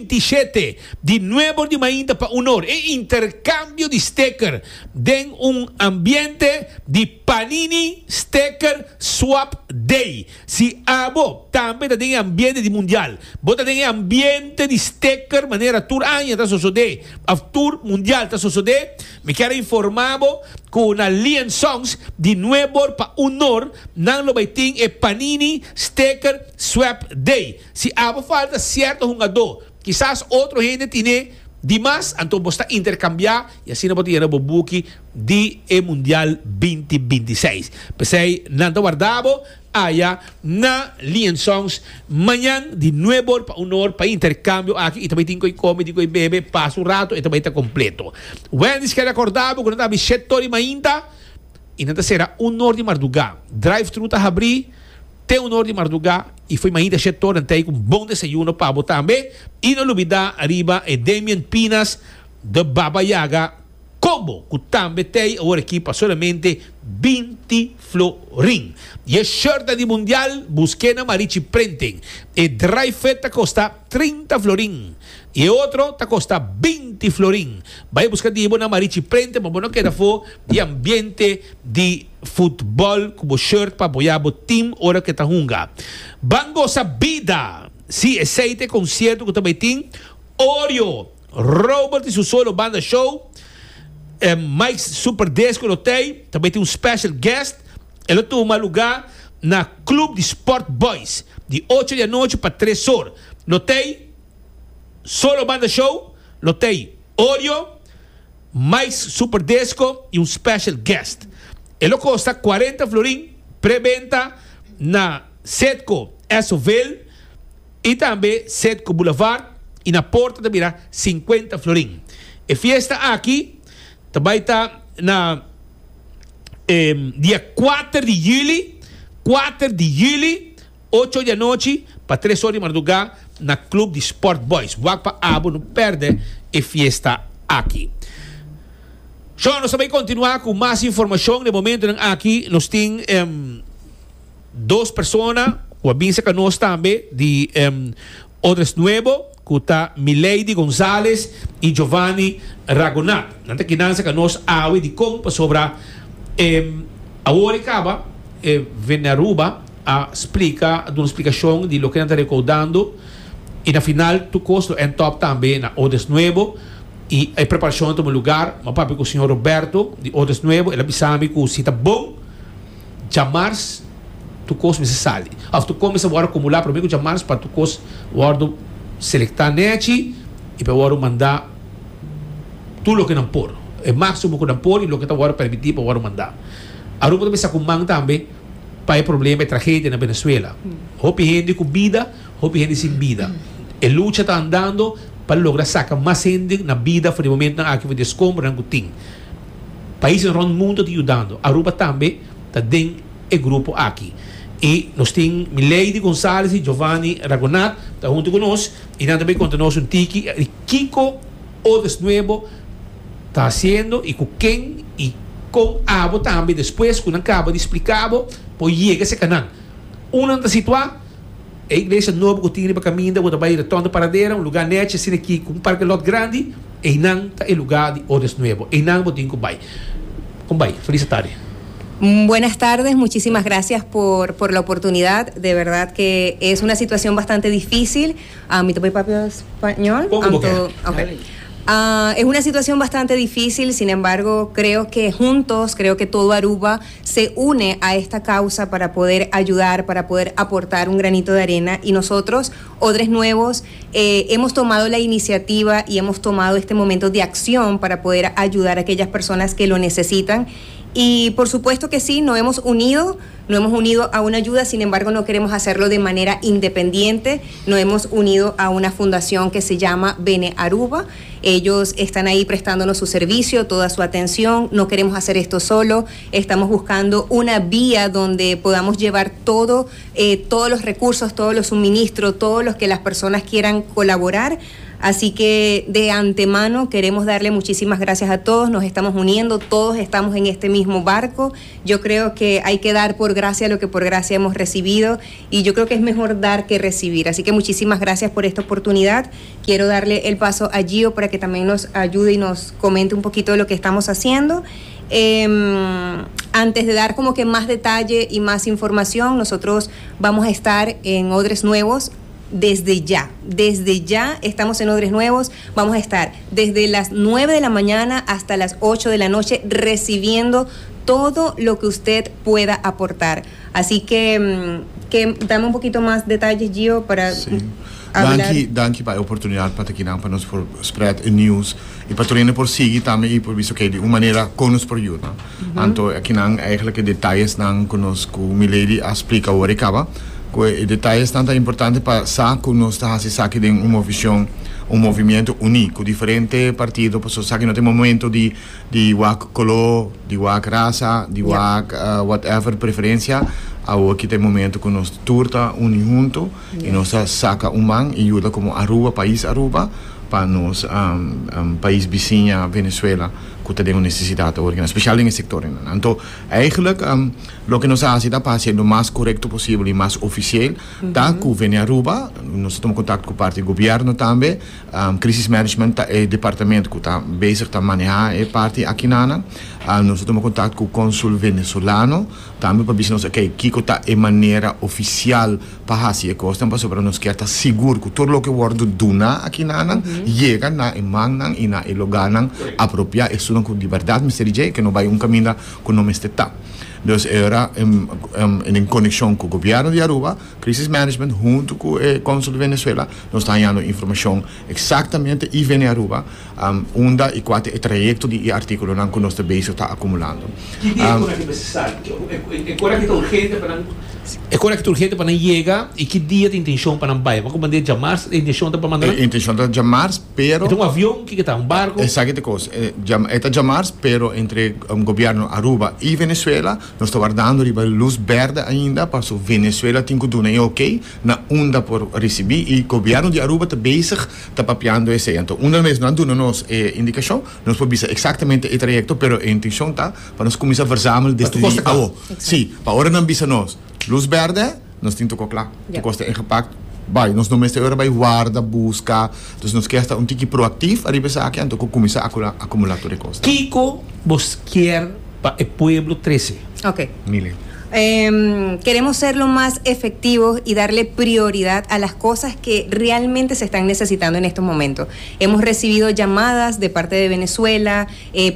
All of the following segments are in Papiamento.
27 di nuebor di mainta pa un or e intercambio di sticker den un ambiente di Panini Sticker Swap Day. Si abo tambe ta den e ambiente di mundial, bo ta den e ambiente di sticker manera tur aña ta sosodé of tur mundial ta sosodé, mi kier a informa bo ku na Lee Songs di nuebor pa un or nan lo bai tin e Panini Sticker Swap Day. Si abo falta sierto hungadó, kisas otro hende tine di mas, anto bo sta interkambiá i asina bo ta yena bo buki di e Mundial 2026. P'esei nan ta warda bo aya na Lee Songs mañan di nuebor pa un or pa e interkambio aki i ta bai tin koi kome, tin koi bebe, pasa un rato e ta bai ta kompleto. Wendy's ke rekorda bo ku nan ta habri shet tor di mainta i nan ta sera un or di mardugá. Drive thru ta habri te un or di mardugá i fo'i mainta shet tor nan ta ei ku un bon desayuno pa bo tambe. I no lubida riba e Damian Pinas de Baba Yaga. Combo cu tambe t'ey awor aki pa solamente 20 florin. Y e shirtnan di mundial busque na Marichi Printing. E dry fit ta costa 30 florin y e otro ta costa 20 florin. Bay busca di bo na Marichi Printing pa bo no keda afo di ambiente di futbol cu bo shirt pa apoya bo team ora cu e ta hunga. Ban goza bida! Si, esey ta e concierto cu ta bay tin Oreo. Robert y su solo banda show, Mike's Super Disco lo tey, ta bay tin un special guest, e lo tuma lugar na Club di Sport Boys di ocho di anochi pa tres or. Lo tey solo banda show, lo tey Oreo, Mike's Super Disco y un special guest. E lo costa cuarenta florin, pre-benta na Setco Esoville. I tambe Setco Boulevard i na porta ta bira 50 florin. E fiesta aki ta bai ta na dia kuater di juli, kuater di juli, ocho di anochi pa tres or di mardugá na Club di Sport Boys. Wak pa abo no pèrdè e fiesta aki. Shon, nos ta bai kontinuá ku mas informashon. Den momentonan aki nos tin. Dos persona cu a bin cerca nos tambe di Odres Nuevo cu ta Milady Gonzalez y Giovanni Ragonat. Nan ta kinan cerca nos awe dicon pasobra awor e caba e Venearuba a splica a duna splicacion di loke nan ta recaudando y na final tur cos lo end up tambe na Odres Nuevo y e preparacion a tuma lugar. Mi a papia cu señor Roberto di Odres Nuevo el a bisa mi cu si ta bon. Djamars tur kos mester sali of tur kos mester wòrdu akumulá promé ku djamars pa tur kos wòrdu selektá nèchi i pa wòrdu mandá tur loke nan por, e máksimo ku nan por i loke ta wòrdu permití pa wòrdu mandá. Aruba ta bisa ku man tambe pa e problema, e tragedia na Venezuela. Hopi hende ku bida, hopi hende sin bida. E lucha ta andando pa logra saka mas hende na bida for di momentunan aki for di eskombranan ku tin. Paisnan rond mundo ta yudando. Aruba tambe ta den e grupo aki. Y nos tin Milady Gonzalez y Giovanni Ragonat ta hunto cu nos y nan ta bay conta nos un tiki di kico Odes Nuevo ta haciendo y cu ken y con abo tambe despues cu nan caba di splica bo por yega cerca nan. Unda nan ta situa? E iglesia nobo ku tin riba kaminda ku ta bai Retorno Paradera, un lugá nechi asina aki ku un parke lòt grandi, einan ta e lugá di Odes Nuevo. Einan bo tin ku bai. Kon bai? Felis atardi. Buenas tardes, muchísimas gracias por por la oportunidad, de verdad que es una situación bastante difícil, mi ta por papia español? Poko bo ke. Okay. Es una situación bastante difícil, sin embargo, creo que juntos, creo que todo Aruba se une a esta causa para poder ayudar, para poder aportar un granito de arena y nosotros, Odres Nuevos, eh, hemos tomado la iniciativa y hemos tomado este momento de acción para poder ayudar a aquellas personas que lo necesitan. Y por supuesto que sí, nos hemos unido, nos hemos unido a una ayuda, sin embargo no queremos hacerlo de manera independiente, nos hemos unido a una fundación que se llama Bene Aruba. Ellos están ahí prestándonos su servicio, toda su atención. No queremos hacer esto solo. Estamos buscando una vía donde podamos llevar todo, eh, todos los recursos, todos los suministros, todos los que las personas quieran colaborar. Así que de antemano queremos darle muchísimas gracias a todos, nos estamos uniendo, todos estamos en este mismo barco. Yo creo que hay que dar por gracia lo que por gracia hemos recibido y yo creo que es mejor dar que recibir. Así que muchísimas gracias por esta oportunidad. Quiero darle el paso a Gio para que también nos ayude y nos comente un poquito de lo que estamos haciendo. Antes de dar como que más detalle y más información, nosotros vamos a estar en Odres Nuevos desde ya. Desde ya estamos en Odres Nuevos. Vamos a estar desde las 9 de la mañana hasta las 8 de la noche recibiendo todo lo que usted pueda aportar. Así que dame un poquito más detalles, Gio, para hablar. Danki, danki pa e oportunidat pa ta akinan pa nos por spread e news i pa tur hende por sigui tambe i por bisa okay di un manera kon nos por yuda. Anto akinan eigenlijk e detayesnan ku nos ku Milady a splika awor e kaba ku e detayesnan ta importante pa sa ku nos ta hasi esaki den un movishon un movimiento uní ku diferente partido pasobra esaki no ta e momento di di wak koló, di wak rasa, di wak whatever preferensia, awor ki ta e momento ku nos tur ta uni huntu i nos ta saka un man i yuda komo Aruba, pais Aruba, pa nos pais bisiña Venezuela ku ta den un nesesidat awor kinan, spesial den e sektor einan. Anto eigenlijk loke nos a hasi ta pa hasi lo mas korekto posibel i mas ofisiel ta ku Venearuba, nos ta tuma kontakto ku parti di gobièrnu tambe, Crisis Management ta e departamento cu ta bezig ta maneha e parti akinana. Nos a tuma contact cu consul venezolano tambe pa bisa nos ok kico ta e manera oficial pa haci e cosnan pasobra nos kier ta sigur cu tur loke wordo duna akinana yega na e mannan y na e logarnan apropia esunnan cu di berdad mester di dje que no bay un caminda cu no mester ta. Dus e ora en conexion cu gobierno di Aruba Crisis Management hunto cu e Consul di Venezuela nos ta hañando informacion exactamente y Vene Aruba unda y cua ta e trayecto di e articulonan cu nos ta bezig ta acumulando. Ki dia e cora ki mester sali? E cora ki ta urgente pa nan E cora ki ta urgente pa nan yega y ki dia ta intencion pa nan bay? Bo a comand'é djamars? E intencion ta pa manda nan? E intencion ta djamars pero. E ta un avion? Kiko ta? Un barco? Esaki ta e cos. E ta djamars pero entre gobierno Aruba y Venezuela Nos ta wardando riba luz berde ainda paso Venezuela tin cu duna e ok na unda por ricibi y gobierno di Aruba ta bezig ta papiando esey. Anto unda mes nan duna nos e indicacion nos por bisa exactamente e trayecto pero e intencion ta pa nos cuminsa verzamel desde di awo. Si, pa ora nan bisa nos luz berde nos tin toko cla, tur cos ta ingepakt bay. Nos no mester ora bay warda, busca, dus nos kier sta un tiki proactief ariba esaki anto cu cuminsa acumula tur e cosnan. Kico bos kier Pa e pueblo trece. Ok. Mile. Queremos ser lo más efectivos y darle prioridad a las cosas que realmente se están necesitando en estos momentos. Hemos recibido llamadas de parte de Venezuela,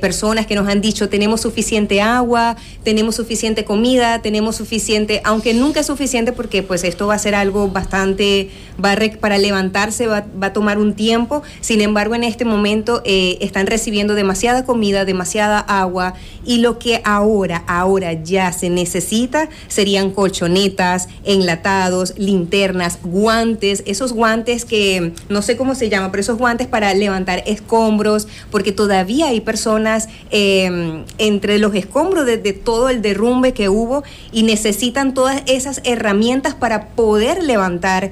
personas que nos han dicho tenemos suficiente agua, tenemos suficiente comida, tenemos suficiente, aunque nunca es suficiente porque pues esto va a ser algo bastante, va a re-, para levantarse va, va a tomar un tiempo, sin embargo en este momento están recibiendo demasiada comida, demasiada agua y lo que ahora ya se necesita serían colchonetas, enlatados, linternas, guantes, esos guantes que no sé cómo se llama, pero esos guantes para levantar escombros, porque todavía hay personas entre los escombros de todo el derrumbe que hubo y necesitan todas esas herramientas para poder levantar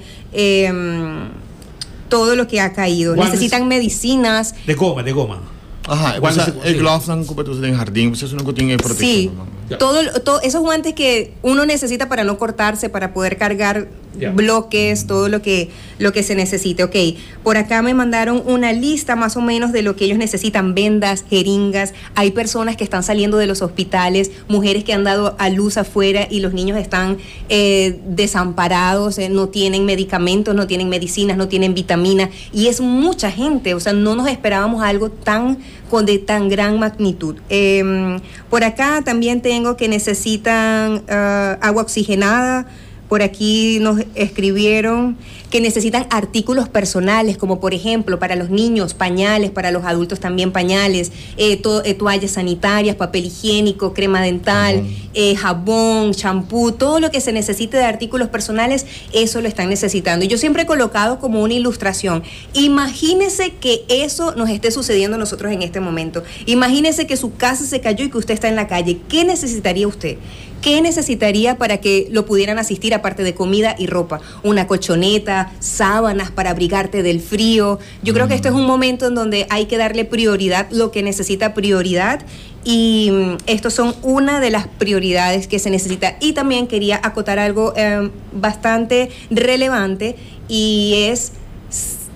todo lo que ha caído. Guantes. Necesitan medicinas. De goma, de goma. Ajá, Guantes o sea, de el sí. gloves dan como tú en jardín, pues eso no tiene protección, Sí. ¿no? Ya. Todo, esos guantes que uno necesita para no cortarse, para poder cargar Ya. bloques, todo lo que se necesite. Ok, por acá me mandaron una lista más o menos de lo que ellos necesitan, vendas, jeringas. Hay personas que están saliendo de los hospitales, mujeres que han dado a luz afuera y los niños están desamparados, no tienen medicamentos, no tienen medicinas, no tienen vitaminas, y es mucha gente, no nos esperábamos algo de tan gran magnitud. Por acá también tengo que necesitan agua oxigenada. Por aquí nos escribieron que necesitan artículos personales, como por ejemplo para los niños pañales, para los adultos también pañales, toallas sanitarias, papel higiénico, crema dental, Jabón. jabón, champú, todo lo que se necesite de artículos personales, eso lo están necesitando. Y yo siempre he colocado como una ilustración. Imagínese que eso nos esté sucediendo a nosotros en este momento. Imagínese que su casa se cayó y que usted está en la calle. ¿Qué necesitaría usted? ¿Qué necesitaría para que lo pudieran asistir aparte de comida y ropa? Una colchoneta, necesita sábanas para abrigarte del frío. Yo creo que este es un momento en donde hay que darle prioridad lo que necesita prioridad y mm, estos son una de las prioridades que se necesita. Y también quería acotar algo eh, bastante relevante y es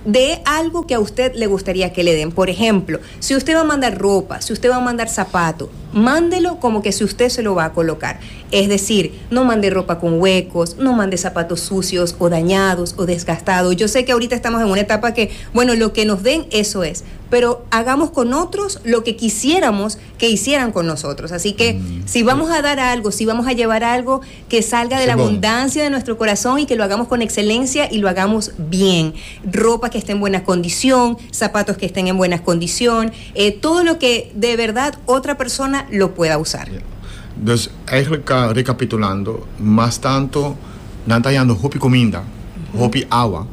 de algo que a usted le gustaría que le den. Por ejemplo, si usted va a mandar ropa, si usted va a mandar zapato, mándelo como que si usted se lo va a colocar. Es decir, no mande ropa con huecos, no mande zapatos sucios o dañados o desgastados. Yo sé que ahorita estamos en una etapa que, bueno, lo que nos den, eso es. Pero hagamos con otros lo que quisiéramos que hicieran con nosotros. Así que mm. si vamos a dar algo, si vamos a llevar algo que salga de la abundancia de nuestro corazón y que lo hagamos con excelencia y lo hagamos bien. Ropa que esté en buena condición, zapatos que estén en buena condición, eh, todo lo que de verdad otra persona lo pueda usar. Dus eigenlijk uh, recapitulando, mas tanto nan ta hayando hopi cuminda, hopi awa,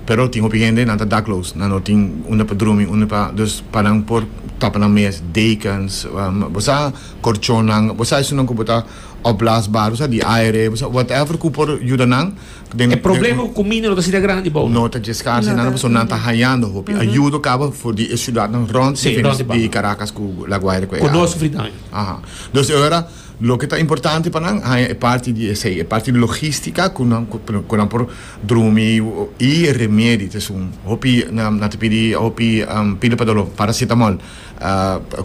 pero tin hopi hende nan ta dakloos, nan no tin unda pa drumi, unda pa, dus pa nan por tapa nan mes, dekens, um, bo sa corchonnan, bo sa esunnan cu bo ta opblaasbaar, bo sa di aire, bo sa whatever cu por yuda nan den. E problema cu cuminda no ta asina grandi bo. No ta dje scarce No nada, ta. pasobra nan ta hayando hopi ayudo caba for di e ciudadnan rond Sí, rond di di Caracas cu La Guaira cu e Cu no área. sufri daño. Aha. Dus e ora loke ta importante pa nan haña e parti di esei, e parti di logistica ku nan ku nan por drumi i e remedi ta esun. Hopi nan ta pidi hopi pila pa doló, paracetamol,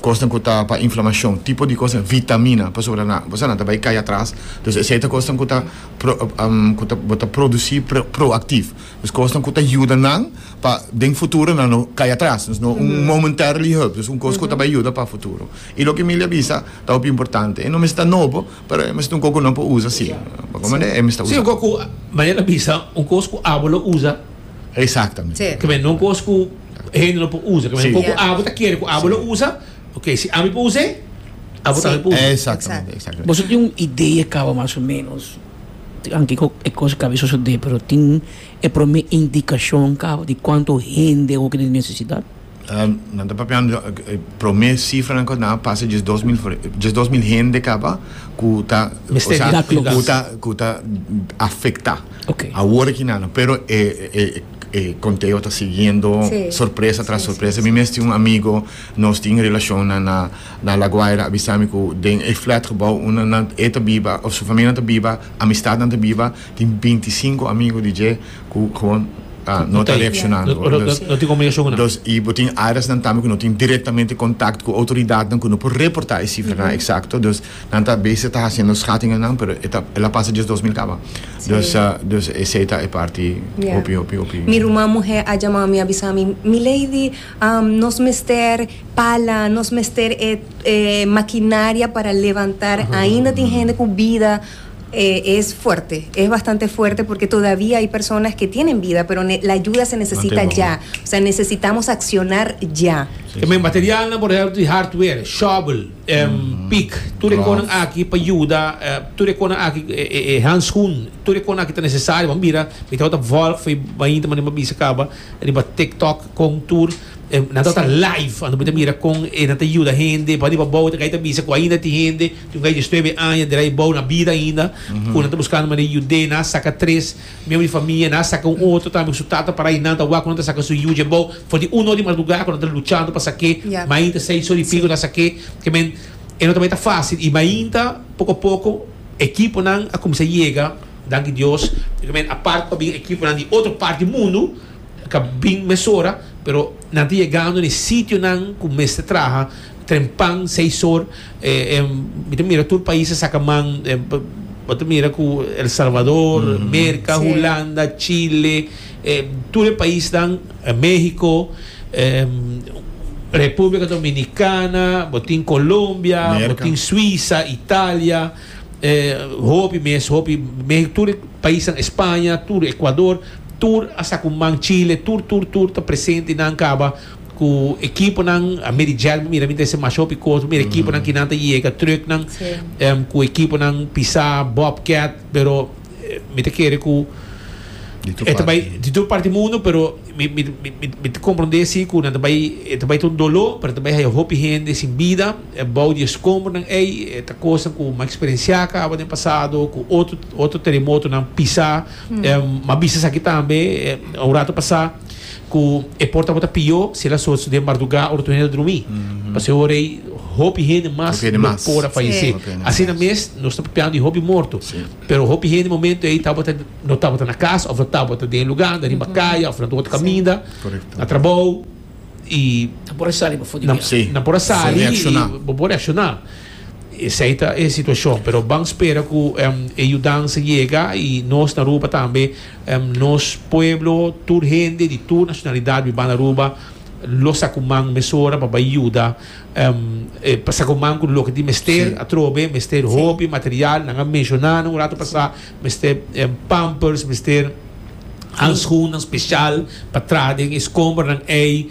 kosnan ku ta pa inflamashon, tipo di kosnan, vitamina, pasobra nan bo sa nan ta bai kai atras. Dus esei ta kosnan ku ta ku ta bo ta produsi proactief. Dus kosnan ku ta yuda nan pa den futuro nan no kai atras. Dus no un momentarily hulp, dus un kos ku ta bai yuda pa futuro. I loke Emilia a bisa ta hopi importante. E no mester ta nobo, pero e mester ta un kos ku nan por usa si. Pa kon manera e mester Si, usa. un kos ku, manera el a bisa, un kos ku abo lo usa. Exactamente. Si. Ke men no un kos ku hende no por usa. Ke men Si. un kos ku abo ta kere ku abo lo usa. Ok, si ami por us'é, abo tambe por usa. Exactamente, exactamente. Boso tin un idea kaba mas o menos, anke ku e kos kaba di sosodé, pero tin e promé indikashon kaba di kuantu hende hopi tin nesesidat? Nan ta papiando e prome cifranan cu nan a pasa diesdos mil diesdos mil hende caba cu ta Mester o sea cu ta cu ta afecta awor aki nan pero e e e conteo ta siguiendo sorpresa tras sorpresa mi mes tin un amigo nos tin relacionnan na na La Guaira a bisa mi cu den e flatgebouw unda nan e ta biba of su familianan ta biba amistadnan ta biba tin bintisinco amigo di dje cu gewoon no ta reaccionando. No tin comunicacion cu nan. Dus, y bo tin areasnan tambe cu no tin directamente contact cu autoridadnan cu no por reporta e cifranan exacto. Dus, nan ta bezig ta haciendo schatingennan, pero e ta, el a pasa diesdos mil caba. Dus, dus esey ta e parti hopi, hopi, hopi. Mi ruman muher a jama mi a bisa mi, Milady, nos mester pala, nos mester e e maquinaria para levantar, ainda tin hende cu bida. Es fuerte, es bastante fuerte porque todavía hay personas que tienen vida, pero la ayuda se necesita ya. O sea, necesitamos accionar ya. Ke men materialnan, por ehempel, di hardware, shovel, pik, tur e konan aki pa yuda, tur e konan aki, e handschoen, tur e konan aki ta nesesario. Bo mira, mi tabata volg for e mainta manera mi a bisa kaba riba TikTok kon tur. Nan tabata live, anto bo ta mira kon e nan ta yuda hende, pa riba bou ta kai ta bisa ku ainda tin hende, tin un kai diesnuebe aña dera e bou na bida ainda, ku nan ta buskando manera di yud'é, nan a saka tres miembro di famia, nan a saka un otro tambe ku su tata para ei, nan ta wak ku nan ta saka su yu dje bou, for di un or di mardugá ku nan ta luchando pa sak'é, mainta seis or i piko nan a sak'é, ke men e no ta bai ta fásil i mainta poko poko ekiponan a kuminsá yega, danki Dios, ke men apart ku a bin ekiponan di otro parti di mundu. Ka bin mesora, pero nan ta yegando na e sitionan ku mester traha trempan seis or. Mi ta mira tur pais a saka man, bo ta mira ku El Salvador, Merka, Hulanda, Chile, tur e paisnan, Mexico, Republica Dominicana, bo tin Colombia, bo tin Suiza, Italia, hopi mes, hopi, tur e paisnan, España, tur Ecuador. Tur a sa ku man Chile, tur tur tur ta presente nan kaba ku ekiponan a medi gel bo mira mi ta hasi masha hopi kos bo mira ekiponan ki nan ta yega trucknan ku ekiponan pisa bobcat pero mi ta kere ku. E ta bai di tur parti mundo, pero mi mi mi mi ta comprende si cu nan ta bai e ta bai ta un dolor, pero ta bai haya hopi hende sin bida bou di escombronan ey. E ta cosnan cu mi a experiencia caba den pasado cu otro otro teremotonan pisa. Mi a bisa esaki tambe un rato pasa cu e por tabata pio si el a soso den marduga ora tur hende ta drumi. Pasobra e ora ey hopi hende mas lo por a fayece. Asina mes nos ta papiando di hopi morto. Pero hopi hende momento ey tabata no tabata na cas of no tabata den e lugar, na riba caya of na otro caminda, na trabou y Nan por a sali pafó di biaha. Nan por a sali y bo por reacciona. Esey ta e situacion. Pero ban spera cu e yudansa yega y nos na Aruba tambe, nos pueblo, tur hende di tur nacionalidad biba na Aruba lo saca un man mesora pa bay yuda. Pa sa ku man ku loke tin mester atrobe, mester hopi material, nan a menshoná nan un rato pasá, mester pampers, mester handschoennan spesial pa traha den e skombernan ei,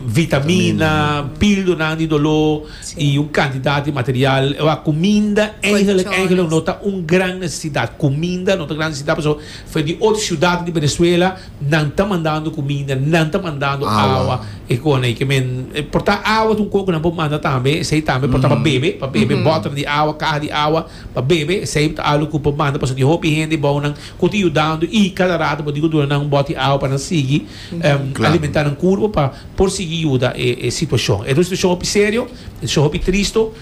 vitamina, pildonan di doló i un kantidat di material. Wak, kuminda eigenlik eigenlik no ta un gran nesesidat, kuminda no ta gran nesesidat pasobra for di otro siudatnan di Venezuela Nan ta mandando cuminda, nan ta mandando awa. E con ey ke men por ta awa ta un con cu nan por manda tambe, esey tambe por ta pa bebe, pa bebe boter di awa, caha di awa pa bebe, esey ta algo cu por manda pasobra tin hopi hende bou nan cu ta yudando y cada rato bo tin cu duna nan un bot di awa pa nan sigui alimenta nan curpo pa por sigui yuda e situacion. E ta un situacion hopi serio, e situacion hopi tristo,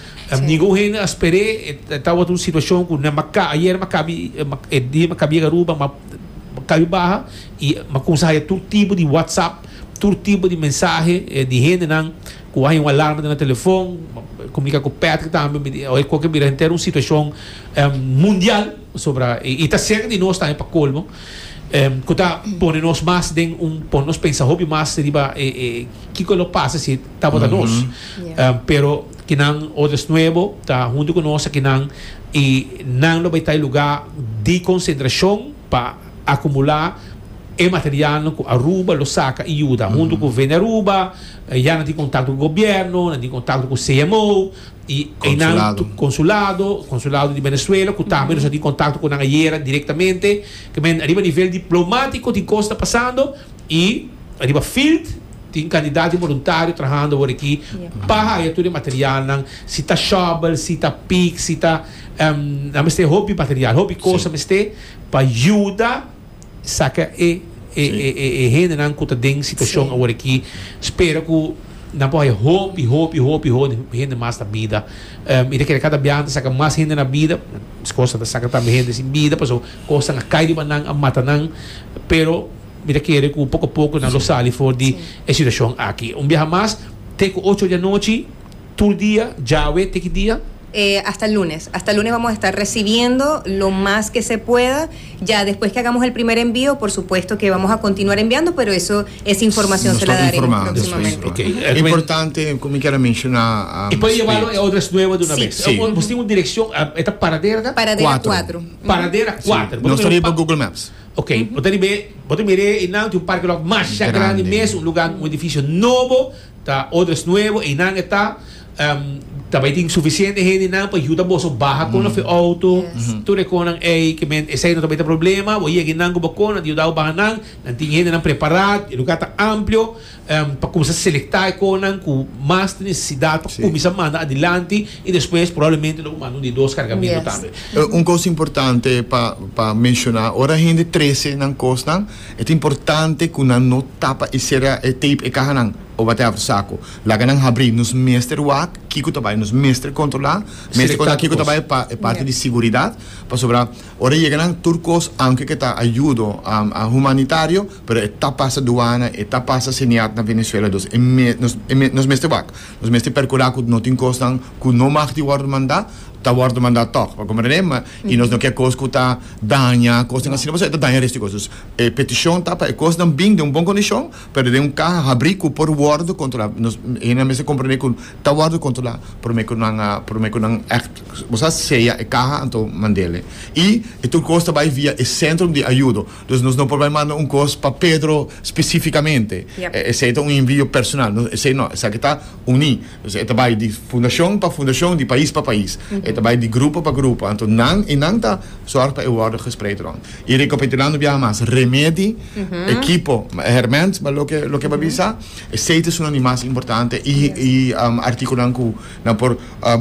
ningun hende a spere, e tabata un situacion cu nan ayer mi a cabi, e dia mi a cabi yega Aruba mi a. Kabi baha y m'a cuminsa haya tur tipo di whatsapp, tur tipo di mensahe di hendenan cu a haya un alarma den nan telefon, comunica cu Patrick tambe, mi di oye koke bira henter un situacion mundial pasobra y ta cerca di nos tambe pa colmo cu ta pone nos mas den un pone nos pensa hopi mas riba e kico lo pasa si tabata nos pero kinan Odes Nuevo ta hunto cu nos akinan y nan lo bay ta e lugar di concentracion pa acumula e materialnan cu Aruba lo saca y yuda. Hunto cu Venearuba, ya nan tin contacto cu gobierno, nan tin contacto cu CMO y eynan consulado, consulado di Venezuela cu tambe nos a tin contacto cu nan ayera directamente. Ke men ariba nivel diplomatico tin cos ta pasando y ariba field tin cantidad di voluntario trahando awor aki pa haya tur e materialnan, si ta shovel, si ta pick, si ta nan mester hopi material, hopi cos a mester pa yuda saca e e hendenan cu ta den situacion awor aki. Spera cu nan por haya hopi, hopi, hopi hende mas na bida. Mi ta kere cada biaha nan ta saca mas hende na bida, escosa ta saca tambe hende sin bida pasobra cosnan a cay riba nan, a mata nan, pero Mi ta kere ku poko poko nan lo sali for di e situashon aki. Un biaha mas, te ku ocho di anochi, tur dia, djawe te ki dia? Hasta el lunes. Hasta el lunes vamos a estar recibiendo lo más que se pueda. Ya después que hagamos el primer envío, por supuesto que vamos a continuar enviando, pero eso, esa información se la daremos próximamente. Ok. Importante, ku mi kier a menshoná. E por yebalo e otras nuevo di una bes. Sí. Bo tin un direkshon, e ta Paradera? Paradera kuatro. Paradera kuater. Nos ta riba Google Maps. Ok, bo ta riba e, bo ta mira einan tin un parke lòt masha grandi mes, un lugar, un edifisio nobo, ta Odres Nuevo, einan e ta, ta bai tin sufisiente hendenan pa yuda boso baha kon of e outo, tur e konnan ei, ke men esei no ta bai ta problema, bo yega einan ku bo kon, nan ta yuda bo baha nan, nan tin hendenan prepará, e lugar ta amplio. Pa cuminsa selecta e conan cu mas tin necesidad pa cuminsa manda adilanti y despues probablemente lo manda un di dos cargamento tambe. Un cos importante pa pa menciona, ora hende trece nan cosnan e ta importante cu nan no tapa y cera e tape e cahanan o whatever saco. Laga nan habri. Nos mester wak kico ta bay, nos mester controla, mester controla kico ta bay pa e parti di siguridad pasobra ora yega nan tur cos aunke ke ta ayudo humanitario, Pero e ta pasa duana, e ta pasa Seniat na Venezuela, dus e me, nos, e me, nos mester wak. Nos mester percura cu no tin cosnan cu no mag di wordo manda, ta wordo manda toch. Bo comprende? Ma, y nos no kier cos cu ta daña cosnan asina, pasobra e ta daña resto di cos. Dus e peticion ta pa e cosnan bin den un bon condicion, pero den un caha habri cu por wordo. wòrdu kontrolá. Nos hende mester komprendé ku ta wòrdu kontrolá promé ku nan a promé ku nan ègt bo sa seya e kaha anto mand'el. I e tur kos ta bai via e sentrum di ayudo. Dus nos no por bai manda un kos pa Pedro spesífikamente. Esei ta un envio personal. No, esei no. Esaki ta uní. Dus e ta bai di fundashon pa fundashon, di pais pa pais. E ta bai di grupo pa grupo. Anto nan, i nan ta sòrg pa e wòrdu gespreid rònt. I rekapitulando biaha mas, remedi, ekipo, hèrmènt, ba loke loke bo a bisa, esei ta esunnan di mas importante i i artíkulonan ku nan por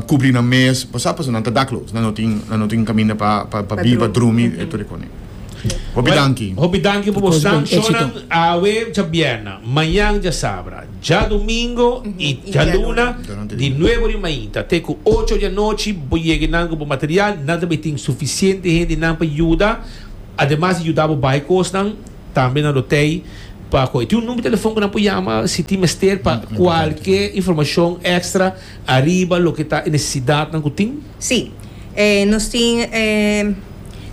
kubri nan mes, bo sa pasobra nan ta dakloos, nan no tin nan no tin kaminda pa pa biba, drumi, e tur e kos. Hopi danki. Hopi danki pa bosnan. Shownan awe djabièrnè, mañan djasabra, djadumingo i djaluna di nuebe di mainta te ku ocho di anochi bo yega nan ku bo material. Nan ta bay tin sufisiente hendenan pa yuda. Ademas di yuda bo bai kosnan, tambe nan lo tei pa kohe. Tin un number di telefon ku nan por yama si tin mester pa kualke informashon èkstra ariba loke ta e nesesidatnan ku tin? Sí. Nos tin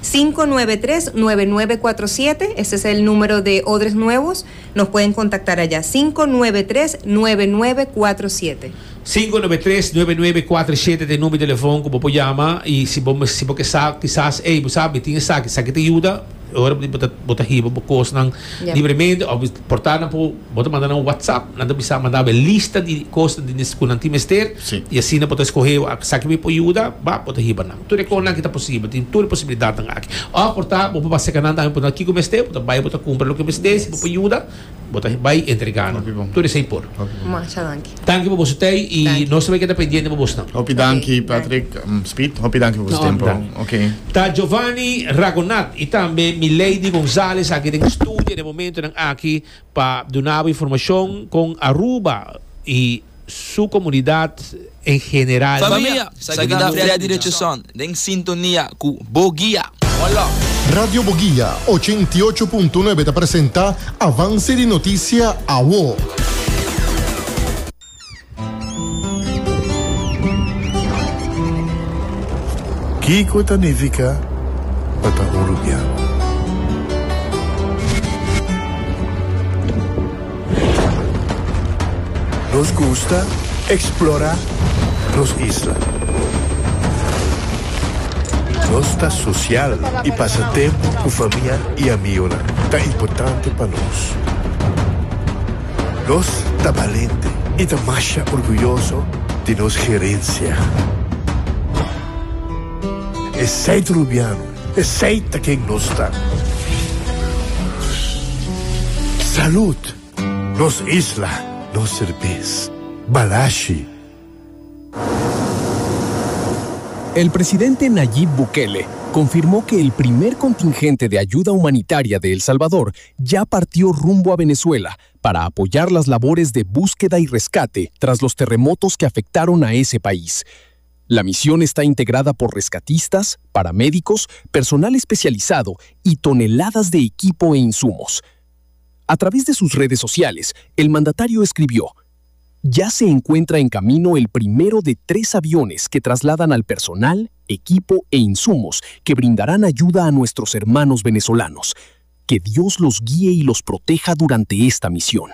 593 9947, ese es el número de Odres Nuevos, nos pueden contactar allá, 593 9947. 593 9947 ta e numero di telefon ku bo por yama i si bo si bo ke sa kisas ey bo sa mi tin esaki, esaki ta yuda, e ora bo ta bo ta hiba bo kosnan libremente of por ta nan por bo ta manda nan un whatsapp nan ta bisa manda bo e lista di kosnan di ku nan tin mester i asina bo ta skohe esaki mi por yuda ba bo ta hiba nan tur e kosnan aki ta posibel tin tur e posibilidatnan aki of por ta bo por basa nan tambe por ta kiko mester bo ta bai bo ta kumpra loke mester si bo por yuda Bo ta bai entrega nan. Tur esei por. Masha danki. Danki pa boso tei y nos ta bai keda pendiente pa bosnan. Hopi danki Patrick, Speed, hopi danki pa boso tempo. Ok. Ta Giovanni Ragonat y tambe Milady Gonzalez aki den studio den momentonan aki pa duna bo informacion con Aruba y su comunidad en general. Famia, Sagida Freddy Richardson den sintonia ku Bo Guia. One love. Radio Boguia 88.9 ta presenta Avance di Noticia Awo. Kiko ta nifiká pa ta un rubiano? Nos gusta explora nos isla. Nos ta social y pasa tempo cu famia y amigonan ta importante pa nos. Nos ta balente y ta masha orguyoso di nos gerencia. Esey ta Rubiano. Esey ta ken nos ta. Salud! Nos isla, nos serbes. Balashi. El presidente Nayib Bukele confirmó que el primer contingente de ayuda humanitaria de El Salvador ya partió rumbo a Venezuela para apoyar las labores de búsqueda y rescate tras los terremotos que afectaron a ese país. La misión está integrada por rescatistas, paramédicos, personal especializado y toneladas de equipo e insumos. A través de sus redes sociales, el mandatario escribió, Ya se encuentra en camino el primero de tres aviones que trasladan al personal, equipo e insumos que brindarán ayuda a nuestros hermanos venezolanos. Que Dios los guíe y los proteja durante esta misión.